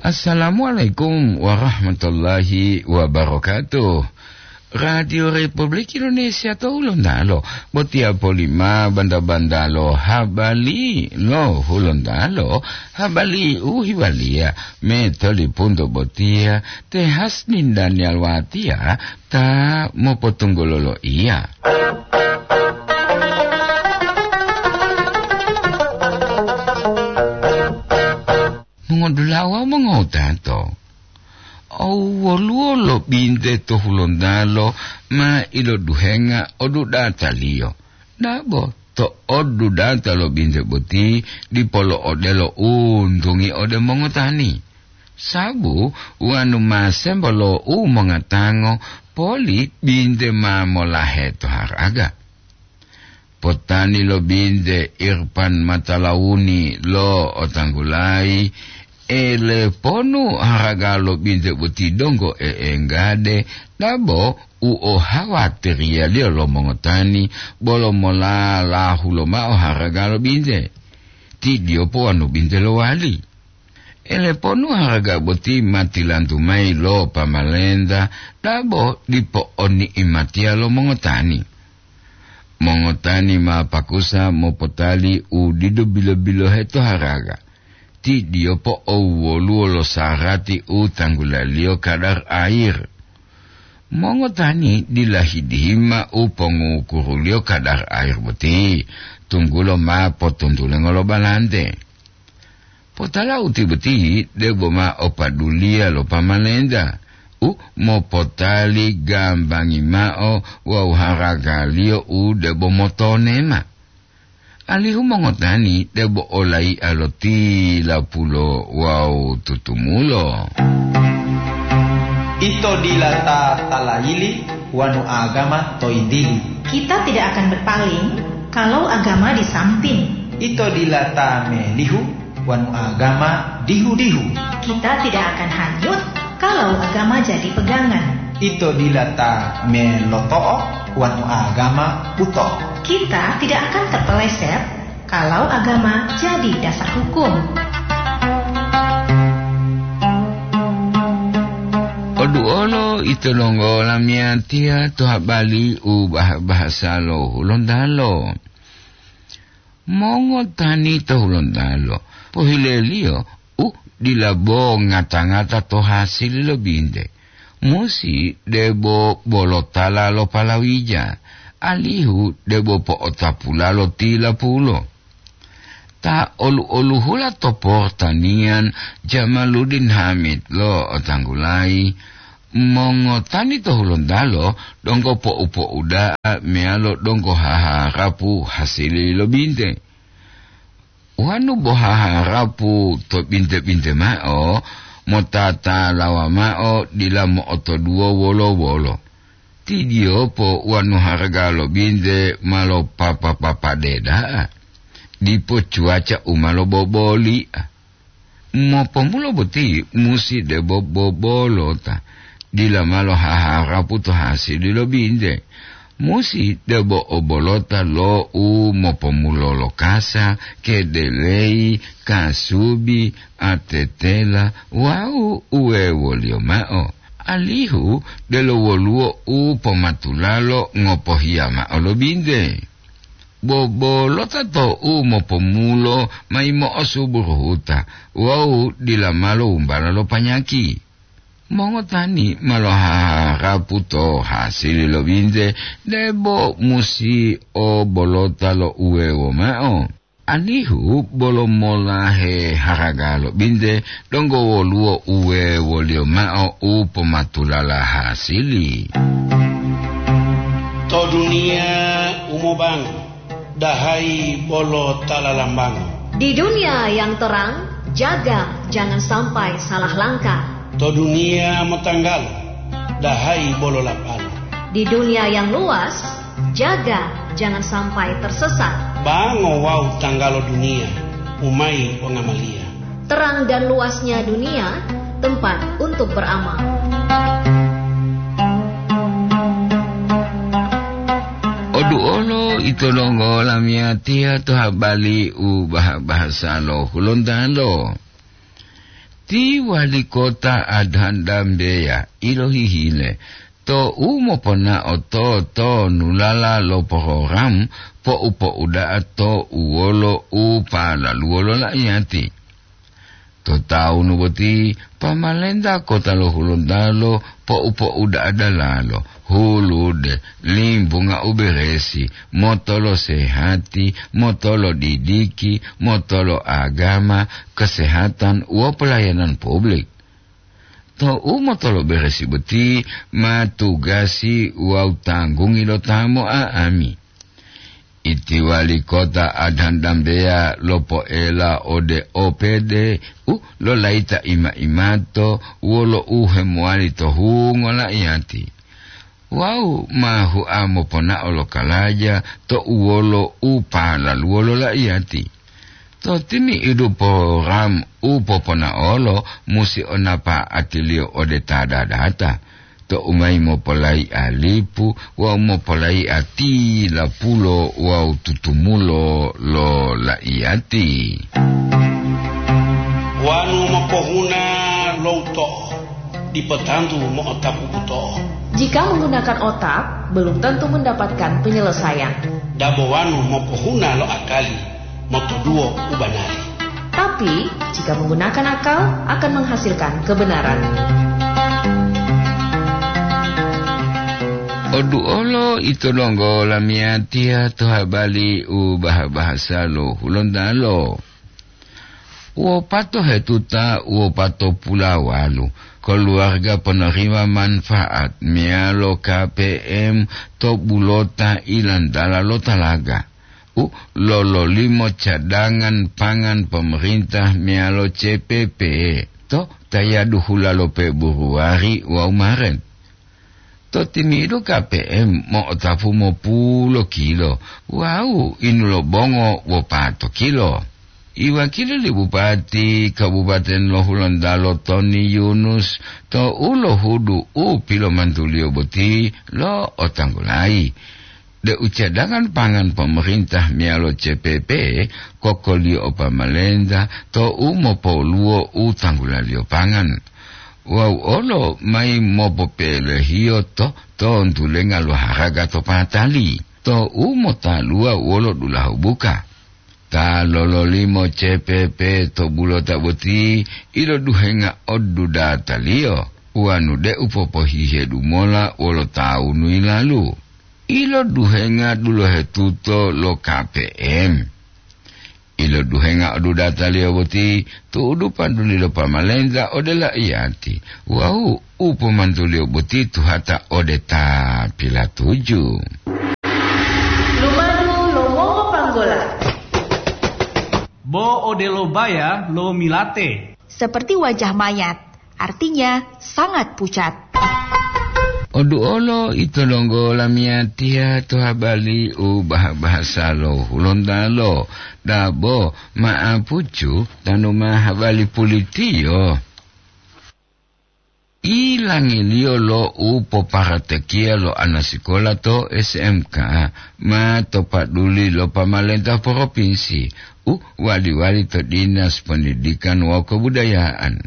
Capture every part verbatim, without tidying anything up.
Assalamualaikum warahmatullahi wabarakatuh. Radio Republik Indonesia to Hulontalo, botiya polima banda-bandalo habari lo Hulontalo, habari u hewaliya me tolipunto botiya te Hasnin Daniel Watiya ta mopotunggulolo iya. Mongodulawa mongowutato. Owu woluwo lo binte to Hulontalo ma iloduhenga odudataliyo. Dabo to odudata lo binte boti dipo lo odelo untungi ode mongotani. Sabu wanu ma sembo lo u mongatango poli binte ma molahe to haraga. Potani lo binte Irpan Matalawuni lo otanggulayi, ele ponu haraga lo binte boti donggo e'enggade, dabo u ohawatiriyaliyo lo mongotani bolo molalahu lomao haraga lo binte. Tidiyo powanu binte lowali. Ele ponu haraga boti ma tilantu mayi lo pamalenta, dabo dipo oni'imatiya lo mongotani. Mongotani ma pakusa mopotali u didu bilo-bilohe to haraga. Tidiyo po'owoluwo lo sarati u tanggulaliyo kadar air. Mongotani dila hidihima u pongukuruliyo kadar air boti, tunggulo ma potuntulengo lo balante. Potala uti boti debo ma opaduliya lo pamalenta u mopotali gambangi mao wawu haragaliyo u debo motonema. Alihu mongotani debo olai'a lo tilapulo wawu tutumulo. Ito dila ta talayili wanu agama to yintili. Kita tidak akan berpaling kalau agama di samping. Ito dila ta melihu wanu agama dihu-dihu. Kita tidak akan hanyut kalau agama jadi pegangan. Ito dila ta meloto'o wanu agama buto. Kita tidak akan terpeleset kalau agama jadi dasar hukum. Oduolo ito donggo lamiyatiya to habari u bah-, bahasa lo Hulontalo. Mongotani to Hulontalo, pohileliyo u dila bo ngata-ngata to hasili lo binte. Musi debo bolotala lo palawija, alihu debo po'otapula lo tilapulo. Ta olu-oluhula to portaniyan Jamaluddin Hamid lo otanggulayi, mongotani to Hulontalo donggo po'u-po'uda'a meyalo donggo haharapu hasili lo binte. Wonu bo haharapu to binte-binte mao, motatalawa mao dila mo'otoduwo wolo-wolo. Tidiyopo wonu haraga lo binte ma lopapa-papade da'a, dipo cuaca u ma loboboli'a. Mopomulo boti musi debo bobolota, dila ma lohaharapu to hasili lo binte. Musi debo obolota lo u mopomulo lo kasa, kedeleyi, kasubi, atetela wawu uwewoliyo mao, alihu delo woluwo u pomatulalo ngopohiya mao lo binte. Bobolota to u mopomulo mayi mo'osuburuhuta wawu dila malo wumbala lo panyaki. Mongotani ma lohaharapu to hasili lo binte debo musi o bolota lo uwewo mao. Alihu bolo molahe haraga lo binte donggo woluwo uwewoliyo mao u pomatulala hasili. To duniya u mobango, dahayi bolo ta lalambango. Di dunia yang terang, jaga jangan sampai salah langkah. To duniya motanggalo, dahayi bolo lapalo. Di dunia yang luas, jaga jangan sampai tersesat. Bango wawu tanggalo duniya, umayi pongamaliya. Terang dan luasnya dunia, tempat untuk beramal. Oduolo ito donggo lamiyatiya to habari u bah-, bahasa lo Hulontalo. Ti wali kota Adhandambeya ilohihile to u moponao to, to nulala lo porogram po'upo'uda'a to uwolo u palaluwo lo la'iyati. To tawunu boti, pamalenta kota lo Hulontalo po'upo'uda'a dalalo, hulude, limbunga u beresi, motolo sehati, motolo didiki, motolo agama, kesehatan, wo pelayanan publik. To u motolo beresi boti ma tugasi wawu tanggungi lo ta mo'a'ami. Iti wali kota Adhandambeya lopoela ode O P D u lolayita ima-imato wolo u hemowali to hungo la'iyati. Wawu ma hua moponao lo kalaja to uwolo u palaluwo lo la'iyati. To timi'idu porogram u poponaolo musi o napa'atiliyo ode ta dadata, to u mayi mopolayi'a lipu wawu mopolayi'a tilapulo wawu tutumulo lo la'iyati. Wanu mopohuna lo uto'o, dipo tantu mo'otapu buto'o. Jika menggunakan otak, belum tentu mendapatkan penyelesaian. Dabo wanu mopohuna lo akali, motoduwo u banari. Tapi, jika menggunakan akal, akan menghasilkan kebenaran. Oduolo ito donggo lamiyatiya to habali u baha-bahasa lo Hulontalo. Wopato hetuta wopatopulawalu koluwarga ponorima manfaat meyalo K P M to bulota ilantala lo talaga u lololimo cadangan pangan pomerintah meyalo C P P to tayadu hula lo Peburuwari wawu Maret. To timi'idu K P M mo'otapu mopulo kilo wawu inu lo bongo wopato kilo. Iwakili li Bupati Kabupaten lo Hulontalo Toni Yunus to u lohudu u pilomantuliyo boti lo otanggulayi deu cadangan pangan pomerintah meyalo C P P kokoliyo o pamalenta to u mopoluwo u tanggulaliyo pangan. Wawu olo mayi mopopelehiyo to tontulenga lo haraga to patali, to u motaluwa wolo dulahu buka. Ta lololimo C P P to bulota boti iloduhenga odudataliyo, wanu deu popohihedu mola wolo tawunu yilalu. Iloduhenga dulohetuto lo K P M. Iloduhenga odudataliyo boti tu'udu paduli lo pamalenta ode la'iyati wawu u pomantuliyo boti tuhata ode ta pilatuju. Lumadu lo mongopanggola. Bo odelo baya lo milate. Seperti wajah mayat, artinya sangat pucat. Oduolo ito donggo lamiyatiya to habali u baha-bahasa lo Hulontalo, dabo ma'apucu tanu ma habali pulitiyo. Ilangiliyo lo u poparatekiya lo anasikola to S M K ma to paduli lo pamalenta propinsi u wali-wali to Dinas Pendidikan wawu Kebudayaan.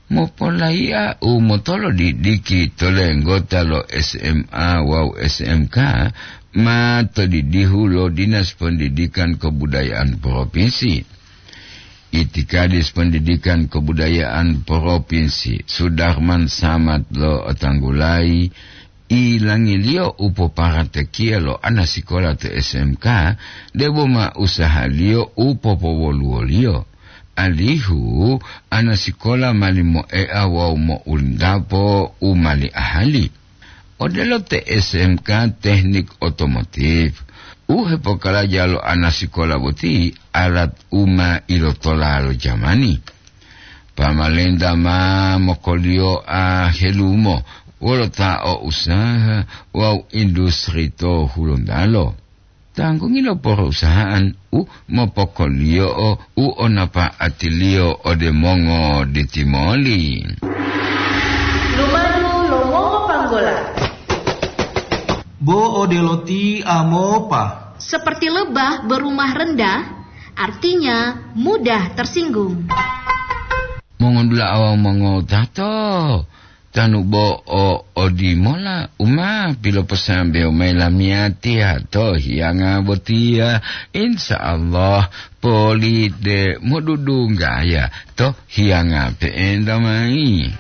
Mopolayi'a u motolodidiki to lenggota lo S M A wawu S M K ma to didihu lo Dinas Pendidikan Kebudayaan Propinsi. Itikadis Pendidikan Kebudayaan Propinsi, Sudarman Samad lo Otanggulayi, ilangiliyo u poparatekiya lo anasikola to S M K, debo ma usahaliyo u popowoluwoliyo, alihu anasikola mali moea wawu mo'ulindapo u mali ahali. Odelo te S M K Teknik Otomotif, u hepokaraja lo anasikola boti alat u ma ilotola lo jamani. Pamalenta ma mokoliyoa helumo wolo ta o usaha wawu industri to Hulontalo. Tanggungi lo porousahaan u mopokoliyo'o u o napa'atiliyo ode mongo ditimoli. Lumadu lo mongopanggola. Bo odelo ti amopa. Seperti lebah berumah rendah, artinya mudah tersinggung. Mongondula'a wawu mongotato, tanu bo o odimola u ma piloposambewo mayi lamiyatiya to hiyanga botiya, insya Allah poli de modudunggaya to hiyanga pe'enta mayi.